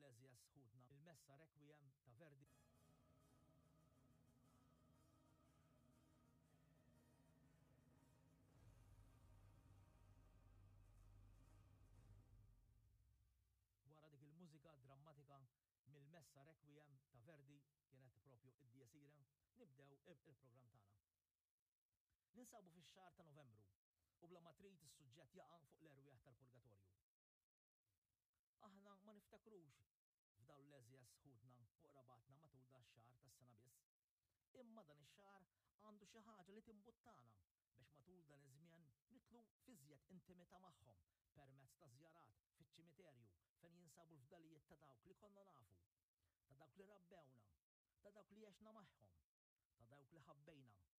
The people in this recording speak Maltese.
l-għeżież ħutna il-Messa Requiem ta' Verdi. Wara dik il-mużika drammatika mill-Messa Requiem ta' Verdi, kienet propju id-Dies Irae, nibdew il-programm tagħna. Ninsabu fix-xahar ta' Novembru u bla ma trid is-suġġett jaqa' fuq l-erwieħ tal-purgatorju. Aħna ma niftakrux f'dawn l-għeżież ħutna u qrabatna matul dax-xahar tas-sena biss. Imma dan ix-xahar għandu xi ħaġa li timbuttana biex matul dan iż-żmien nidħlu f'iżjed intimità magħhom permezz ta' żjarat fiċ-ċimiterju fejn jinsabu l-fdalijiet ta' dawk li konna nafu, ta' dawk li rabbewna, ta' dawk li għexna magħhom, ta' dawk li ħabbejna.